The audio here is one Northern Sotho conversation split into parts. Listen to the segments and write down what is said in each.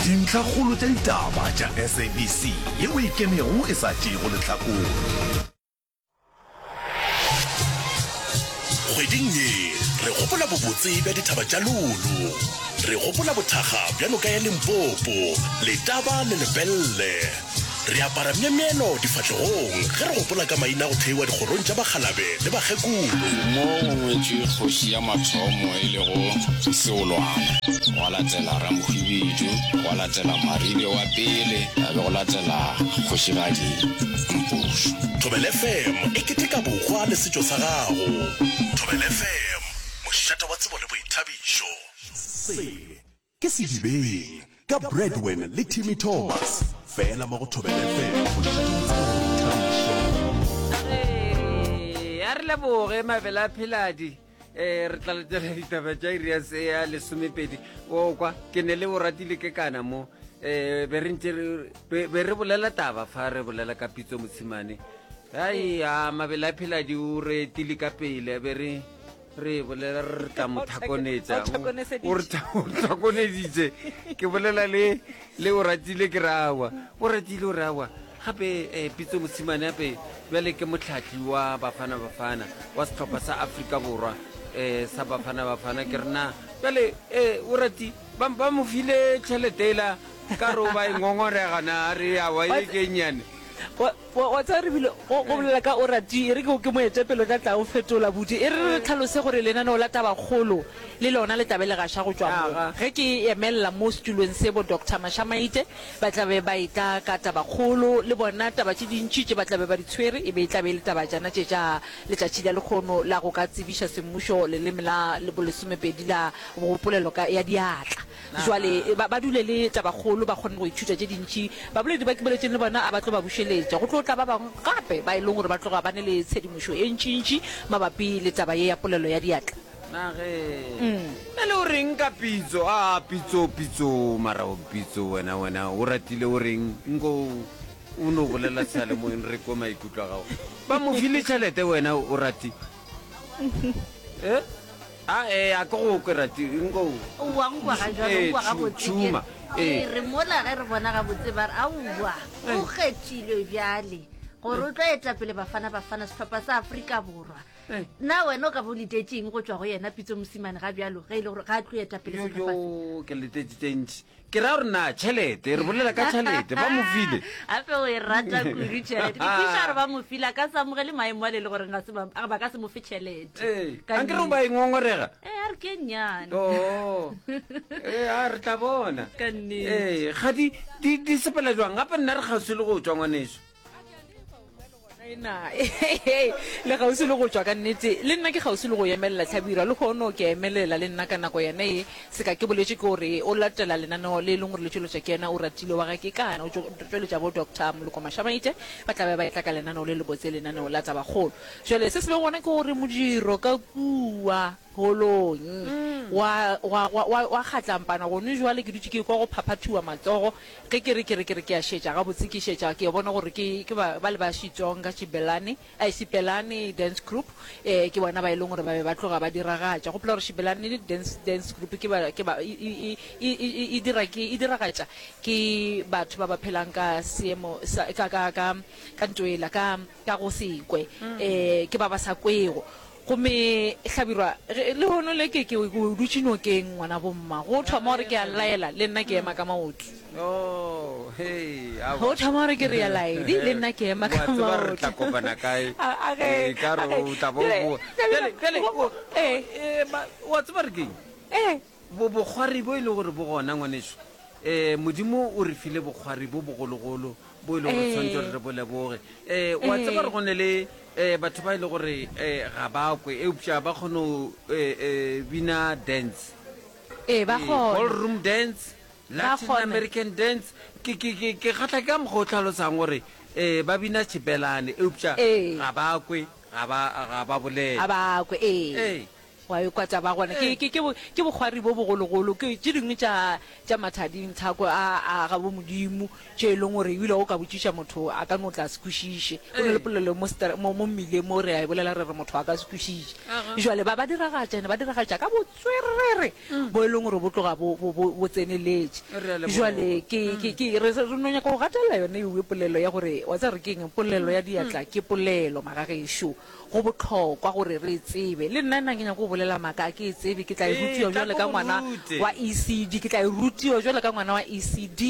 Dintlhakgolo tša ditaba tša SABC yeo e ikemego e sa tšeego lehlakore. Kgweding ye re gopola bobotse bja dithaba tša Lulu. Re gopola bothakga bja noka ya Limpopo, Letaba le Lepelle. Re apara myemyelo difahlegong ge re gopola ka maina a go theiwa dikgorong tša bakgalabe le bakgekolo. Mo go ngwetšwe kgoši ya mathomo e lego Seolwana, gwa latela Ramohwibidu, gwa latela Maribe wa pele, ya be go latela Kgošigadi Mpušo. Thobela FM e keteka bohwa le setšo sa gago. Thobela FM, mošate wa tsebo le boithabišo. Se ke Sedibeng ka Bradwin le Timmy Thomas, fela mo go Thobela FM, mošate wa tsebo le boithabišo. Ee, a re leboge mabele a pheladi um re tla letela ditaba tša iri ya se ya lesomepedi o kwa ke ne le o ratile ke kana mo um be re ntse be re bolela taba fa re bolela ka pitso motshimane ai a mabele a pheladi o re etile ka pele be re re bolela re tla mo thakonetša o re thakoneditše ke bolela le le o ratile ke rawa o ratile o rawa gape um pitso mosimane gape bjale ke motlhatli wa bafana bafana wa sehlopha sa afrika borwa um sa bafana bafana ke rena bjale um o rati ba mo file tšhelete ela ka re o ba e ngongorega na re awa e ke nnyane Wa tseba re bile go bolela ka o rati e re ke ke moetapele o tla tla o fetola buti e re re tlhalose gore lenaneo la tabakgolo le lona le tla be le gaša go tšwa mo. Ge ke emelela mo setulong se bo Doctor Mashamaite ba tla be ba etla ka tabakgolo le bona taba tše dintši tše ba tla be ba di tshwere e be e tla be e le tabajana tše tša letšatši la lekgono la go ka tsebiša semmušo leleme la bolesomepedi la bopolelo ka ya diatla. Jwale ba, ba dule le tabakgolo, ba kgone go ithuta tše dintši. Baboledi ba ke boletšeng le bona a ba tlo ba bušeletša. Go tlo tla ba bangwe gape ba e leng gore ba tloga ba ne le tshedimošo e ntšintši mabapi le taba ye ya polelo ya diatla. Na ge. Bjale o reng ka pitso? A, pitso, pitso, mara o pitso wena, wena o ratile o reng? Nko o no bolela seyalemoyeng re kwe maikutlo a gago. Ba mo file tšhelete wena o rati? Eh? A ee, a ke go kwe rati nko. Owa nkwa ga jwalo, Ee, nkwa tšhu, gabotse ke tšhuma. Ee. re mola ge re bona gabotse ba re aowa o kgethilwe bjale gore o tlo eta pele Bafana Bafana sehlopha sa Afrika Borwa. Eh. Na wena o ka bo letetše eng go tšwa go yena Pitso Mosimane ga bjalo ge e le gore ga a tlo eta pele Yo, sehlopha se? yo, ke letetše tše ntši. Ke ra gore na tšhelete, re bolela ka tšhelete, ba mo file. Gape o e rata kudu tšhelete. Ke kwešiša gore ba mo file, a ka se amogele maemo ale le gore ga se ba, ba ka se mo fe tšhelete. Ee, Ka ankere o ba e ngongorega. Ee, a re ke e nnyane. Oo, ee, a re tla bona. Ka nnete. Ee, ga di, di, di sepela jwang? Gape nna re kgauswi le go tšwa, ngwaneso. Na le kgauswi le go tšwa ka nnete? Le nna ke kgauswi le go emelela Hlabirwa. Lehono ke a emelela le nna ka nako yena ye. Seka ke boletše ke gore o latela lenaneo le e leng gore le tšweletšwa ke yena Oratile wa ga Kekana. O tšweletša bo Doctor Moloko Mashamaite ba tla be ba etla ka lenaneo le lebotse, lenaneo la Tabakgolo. Jwale se se bego gona ke gore modiro ka kua holong wa, wa, wa, wa, wa kgatlampana gone jwale. Ke dutše ke ekwa go phaphathiwa matsogo Ge ke re, ke re, ke re ke a šetša gabotse, ke šetša, ke bona gore ke, ke ba, bale ba Xitsonga, Xibelani, eh, Xibelani Dance Group, eh, ke bona ba e leng gore ba be ba tloga ba diragatša. Gopola gore Xibelani Dance, Dance Group ke ba, ke ba, e, e, e, e, e, e dira ke, e diragatša ke batho ba ba phelang ka seemo sa, ka, ka, ka, ka ntwela, ka, ka go se kwe, eh, ke ba ba sa kwego. Gomme Hlabirwa, ge, lehono le ke, ke, ke o dutše nokeng, ngwana bomma. Go thoma gore ke a laela, le nna ke ema ka maoto. Oh, hei, aowa. Go thoma gore ke re a laedi, le nna ke ema ka Wa tseba re maoto. tla kopana kae. A, a ge, Ee, ka re a ge. o tla bo Bjale, boa. Hlabirwa, Bjale, bjale, go, o, ee. ee, ba, wa tseba re keng? Ee. Bo, bokgwari bo e le gore bo gona, ngwanešu. Ee, Modimo o re file bokgwari bo bogologolo bo e lego gore tshwanetse gore re bo leboge. Ee, wa tseba gore go ne le um batho ba e le gore um ga ba kwe eupša ba kgone go um bina dance. Ee, ba kgona. Ballroom dance, Latin American dance. Ke, ke, ke, ke kgahla ke ka mokgwa o tlhalosang gore um ba bina tšhipelane eupša ga ba kwe, ga ba, ga ba bolele. Ga ba kwe, ee. Ee. Wa e kwa taba gona. Ke, ke, ke, ke bokgwari bo bogologolo. Ke tše dingwe tša, tša mathading thako a, a ga bo Modimo, tše e leng gore ebile o ka botšiša motho a ka no tla se kwešiše. Go na le polelo mo stra, mo, mo mmileng mo re a e bolela re re motho a ka se kwešiše. Jwale ba, ba diragatša, ene ba diragatša ka botswerere bo e leng gore bo tloga bo, bo, bo, bo tseneletše. Re a leboga. Jwale ke, ke, ke, re, re no nyaka go gatelela yone ewe polelo ya gore, wa tseba re ke eng, polelo ya diatla ke polelo, magagešo. Go bohlokwa gore re e tsebe. Le nna na ke nyako go bolela maaka, a ke e tsebe. Ke tla e Ee, rutiwa tla bjalo ke ka go ngwana rute. wa ECD. Ke tla e rutiwa bjalo ka ngwana wa ECD.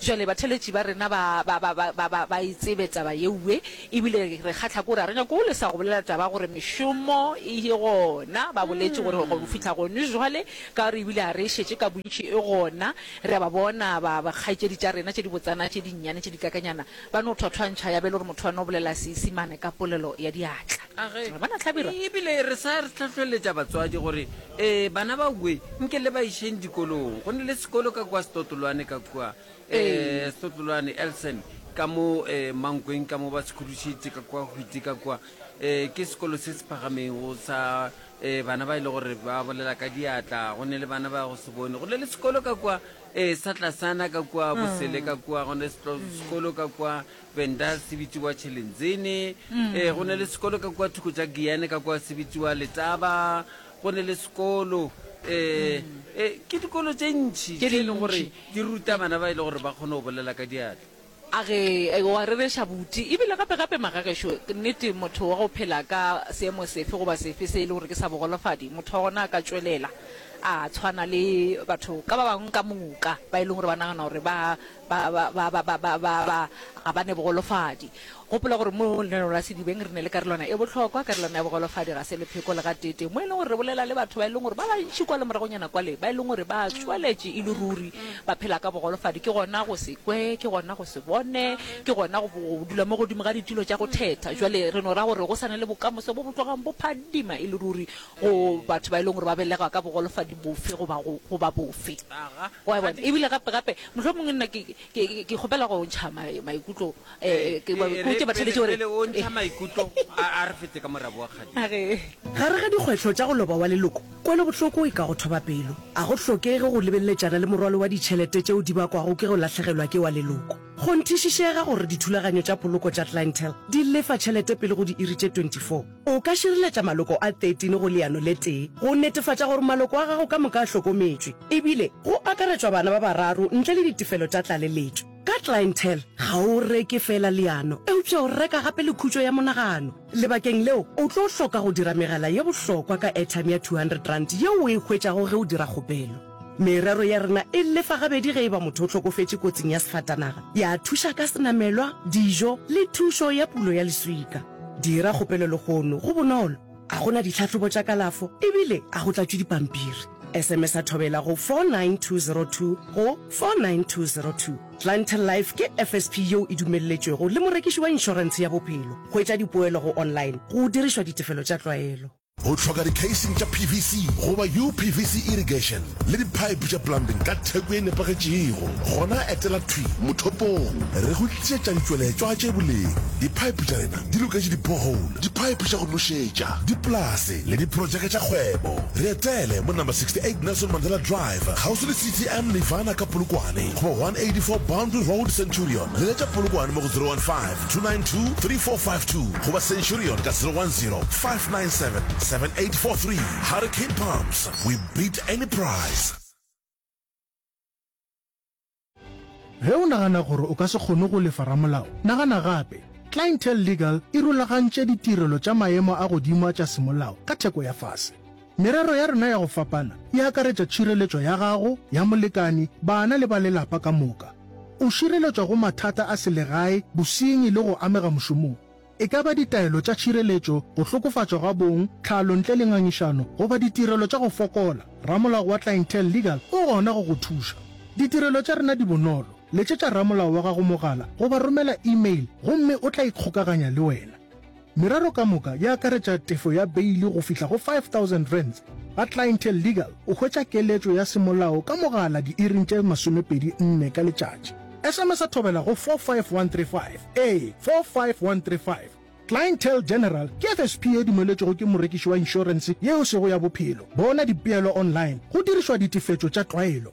Jwale batheeletši ba rena ba, ba, ba, ba, ba, ba, ba e tsebe taba yeue. Ebile re kgahla ke gore ga re nyake go lesa go bolela taba gore mešomo e gona. Ba boletše gore go fihla gone jwale, ka gore ebile ga re e šetše ka bontši e gona. Re a ba bona ba, ba kgaetšedi tša rena tše dibotsana, tše dinnyane, tše dikakanyana, Ba no thwathwantšha ya be e le gore motho a no bolela Seisimane ka polelo ya diatla. A ge, Re bona Hlabirwa. E bile re sa re hlohleletša batswadi gore, Ee, bana ba we, nke le ba išeng dikolong. Go ne le sekolo ka kua Setotolwane ka kua, ee, Setotolwane, Elson, ka mo, ee, Mankweng ka mo ba se khudušitše ka kua Hwiti ka kua. Ee, ke sekolo se se phagamego sa, ee, bana ba e le gore ba bolela ka diatla. Go ne le bana ba go se bone. Go ne le sekolo ka kua, Ee, sa tlasana ka kua Bosele ka kua, go ne sekolo ka kua Venda se bitsiwa Tšhelenzene. Ee, go ne le sekolo ka kua thoko tša Giyane ka kua se bitsiwa Letaba. Go ne le sekolo ee, ee, ke dikolo tše ntši Tše tše e leng gore dintši. di ruta bana ba e le gore ba kgone go bolela ka diatla. A re, O a rereša buti. E bile gape gape magagešo, nnete motho wa go phela ka seemo sefe goba sefe se e le gore ke sa bogolofadi, motho wa gona a ka tšwelela a tshwana le batho ka ba bangwe ka moka ba e leng gore ba nagana gore ba, ba, ba, ba, ba, ba, ba, ba, ba, ga ba ne bogolofadi. Gopola gore mo lenaneong la Sedibeng re ne le karolwana e bohlokwa, karolwana ya bogolofadi ga se lepheko le gateetee, mo e leng gore re bolela le batho ba e leng gore ba bantši kwa le moragonyana kwale ba e leng gore ba tšweletše e le ruri ba phela ka bogolofadi. Ke gona go se kwe, ke gona go se bone, ke gona go, go dula mo godimo ga ditulo tša go thetha. Jwale re no ra gore go sa na le bokamoso bo bo tlogang bo phadima e le ruri go batho ba e leng gore ba belegwa ka bogolofadi bofe goba, goba bofe. Wa bona? Ebile gape, gape mohlomongwe nna ke, Ke, ke kgopela go ntšha maikutlo, eh, ke ba botše batheeletši gore. Pele o ntšha maikutlo, a, a re fete ka morabo wa kgadi. A re. Gare ga dikgwetlho tša go loba wa leloko, kwelobohloko e ka go thoba pelo. A go hlokege go lebeleletšana le morwalo wa ditšhelete tšeo di bakwago ke go lahlegelwa ke wa leloko. Kgonthišišega gore dithulaganyo tša poloko tša Clientele di lefa tšhelete pele go diiri tše 24. O ka šireletša maloko a 13 go leano le tee go netefatša gore maloko a gago ka moka a hlokometšwe, ebile go akaretšwa bana ba bararo ntle le ditefelo tša tlaleletšo. Ka Clientele, ga o reke feela leano, eupša o reka gape le khutšo ya monagano. Lebakeng leo, o tlo hloka go dira megala ye bohlokwa ka airtime ya R200 yeo o e hwetšago ge o dira kgopelo. Merero ya rena e lefa gabedi ge e ba motho o hlokofetše kotsing ya sefatanaga, ya thuša ka senamelwa, dijo le thušo ya pulo ya leswika. Dira kgopelo lehono, go bonolo, a go na ditlhahlobo tša kalafo ebile a go tlatšwe dipampiri. SMS-a Thobela go 49202 go 49202. Clientele Life ke FSP yeo e dumelletšwego le morekiši wa inšorentshe ya bophelo. Hwetša dipoelo go online go dirišwa ditefelo tša tlwaelo. O hloka di-casing tša PVC goba UPVC irrigation le di-pipe tša plumbing ka theko ye nepagetšego? Gona etela thwi mothopong. Re go tlišetša ditšweletšwa tše boleng. Di-pipe tša rena di loketše di-borehole, di-pipe tša go nošetša, dipolase le diprojeke tša kgwebo. Re etele mo number 68 Nelson Mandela Drive, kgauswi le CTM Nirvana ka Polokwane goba 184 Boundary Road, Centurion. Leletša Polokwane mo go 015 292 3452 goba Centurion ka 010 597 7843. Hurricane Pumps, we beat any price. Ge o nagana gore o ka se kgone go lefa ramolao, nagana gape. Clientele Legal e rulagantše ditirelo tša maemo a godimo a tša semolao ka theko ya fase. Merero ya rena ya go fapana e akaretša tšhireletšo ya gago, ya molekani, bana le ba lelapa ka moka. O šireletšwa go mathata a selegae, bosenyi le go amega mošomong. E ka ba ditaelo tša tšhireletšo, go hlokofatšwa ga bong, tlhalo ntle le ngangišano, goba ditirelo tša go fokola, ramolao wa Clientele Legal o gona go go thuša. Ditirelo tša rena di bonolo, letšetša ramolao wa gago mogala goba romela email gomme o tla ikgokaganya le wena. Merero ka moka e akaretša tefo ya beili go fihla go R5000. Ga Clientele Legal o hwetša keletšo ya semolao ka mogala diiring tše 24 ka letšatši. SMS-a Thobela go 45135, ee, 45135. Clientele General ke FSP ye dumeletšwego ke morekiši wa inšorense ye e sego ya bophelo. Bona dipeelo online go dirišwa ditefetšo tša tlwaelo.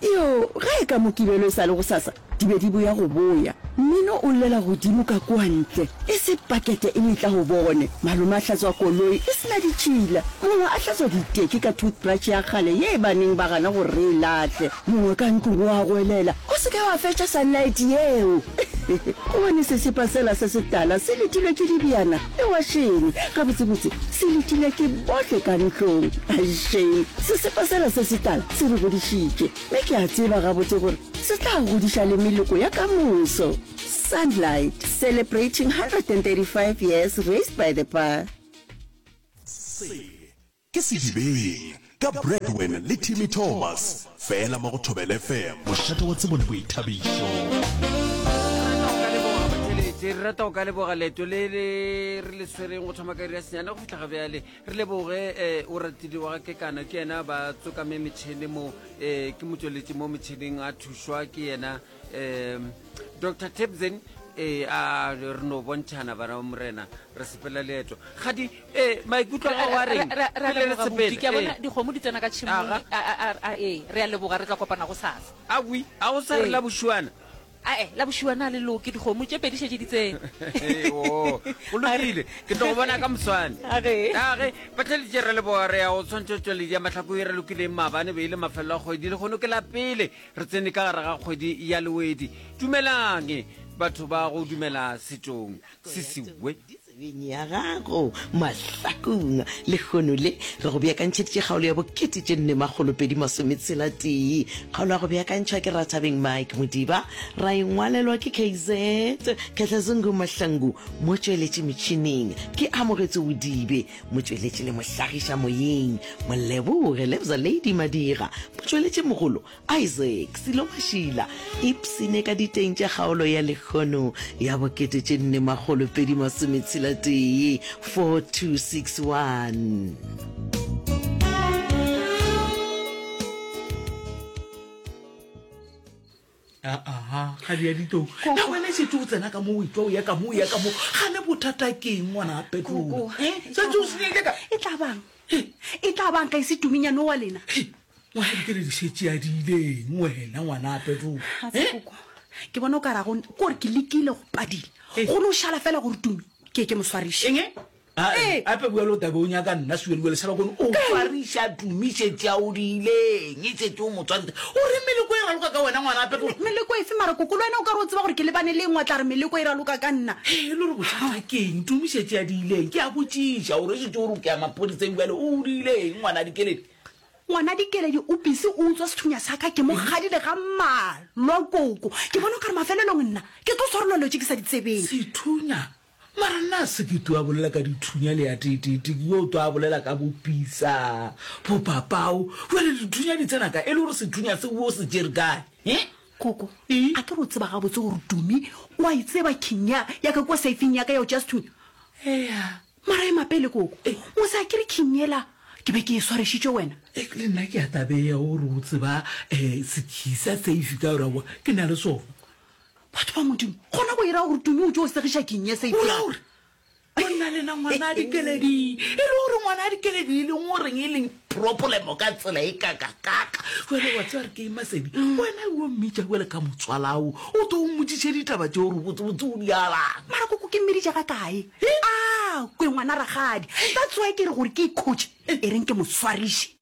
Yoo, ge e ka Mokibelo e sa le gosasa, di be di boya go boya. Mmino o llela godimo ka kua ntle, e se pakete e etla go bone. Malome a hlatswa koloi e se na ditšhila, mongwe a hlatswa diteki ka toothbrush ya kgale ye ba neng ba gana gore re e lahle. Mongwe ka ntlong o a goelela, O se ke wa fetša sunlight yeo! Gobane sesepa sela se setala se letilwe ke dibjana le wašene. Gabotsebotse, se letile ke bohle ka ntlong. Shame, sesepa sela se setala se re godišitše, mme ke a tseba gabotse gore se tla godiša le meloko ya ka moso. Sunlight, celebrating 135 years raised by the bar. Se ke Sedibeng ka Bradwin le Timmy Thomas, fela mo go Thobela FM, mošate wa tsebo le boithabišo. Re rata go ka leboga leeto le le re le swereng go thoma ka iri ya senyane go fihla ga bjale. Re leboge eh, o ratile wa ga Kekana, ke yena ba tsokame metšhene mo eh, ke motšweletši mo metšheneng a thušwa ke yena um Dr Tebzen eh, a re no bontšhana bana ba morena re sepela leeto gadi eh, maikutlo a gago a reng Re- re- re a Pele re leboga, sepela, Buti. Ke a bona eh. dikgomo di tsena ka tšhemong Aga. A- a- a- a- ee re a leboga re tla kopana go sasa awi a o sa re Ee. la bošuana ae la bošuana a le loke dikgomo tše pedi šetše di tsene Ee, oo, go lokile ke tlo go bona ka moswane Age. age batlheletše re leboga re ya go tshwantšho tšweledi ya mahlako e re lokileng maabane be e le mafelelo a kgwedi le kgono ke la pele Re tsene ka gare ga kgwedi ya Lewedi. Dumelang batho ba go dumela setšong se sewe. Tsebeng ya gago mahlakong. Lehono le re go beakantšheditše kgaolo ya bokete tše nne makgolo pedi masometshela tee. Kgaolo ya go beakantšhwa ke Rathabeng Mike Modiba, ra e ngwalelwa ke KZ Khehlazungu Mahlangu, motšweletši metšhineng ke Amogetse Odibe, motšweletši le mohlagiša moyeng Moleboge Lebza Lady Madira, motšweletši mogolo Isaac Silo Mašila, ipshine ka diteng tša kgaolo ya lekgono ya bokete tše nne makgolo pedi masometshela tee, 4261. Aha, kgadi ya ditou. Na wena e šetše o tsena ka mo o etšwa o ya ka mo o ya ka mo. Gane bothata ke eng ngwana a Petrolo? Eh, setse o senyehile ka. E tla bang? E tla bang ka e se tuminyane wa lena? Ngwana dikeledi šetše a di ileng wena ngwana a Petrolo? Eh? Koko, ke bona o ka rago kore ke lekile go padile. Go no šala fela gore tumi ke ke mo swariše. Eng? Ee. Ape bjalo o tabe o nyaka nna Suelue Leshabakone o swariša Tumi šetše a o diileng e šetše o mo tswarisa o re meleko e raloka ka wena ngwana ape Meleko efe mara koko le wena o ka re o tseba gore ke lebane le eng wa tla re meleko e raloka ka nna. He e le gore bothata ke eng Tumi šetše a diileng ke a botšiša o re šetše o re o ke ya maphodiseng bjale o diileng ngwana Dikeledi. Ngwana Dikeledi o busy o utswa sethunya sa ka ke mo kgadile ga mmalwa koko ke bona o ka re mafelelong nna ke tlo swarelwa dilo tše ke sa di tsebeng. Sethunya Mara nna se ke tlo a bolela ka dithunya le ya teetete, ke yo tlo a bolela ka bopisa, bopapao. Jwale dithunya di tsena kae? E le gore sethunya se o se tšere kae? He? Koko, a ke re o tseba gabotse gore Tumi o a e tseba king ya, ya ka kua seifing ya ka ya go tšea sethunya? Eya. Mara ema pele, Koko. Mose a ke re king yela ke be ke e swarešitše wena? E, le nna ke a tabeya gore o tseba um sekhi sa seifi ka gore aowa ke na le sona. Batho ba Modimo, gona go ira gore Tumi o tšo segiša keng ye O ra gore o nna lena ngwana a Dikeledi? E le gore ngwana a Dikeledi e leng goreng e leng problemo ka tsela e kakakaka? Jwale wa tseba re ke eng Masedi? Wena o mmitša bjale ka motswalao, o tlo o mmotšiše ditaba tše gore botsebotse o di alang. Mara koko ke mmiditše ga kae? A kwe ngwana rakgadi. That's why ke re gore ke ikhutše, e reng ke mo swariše.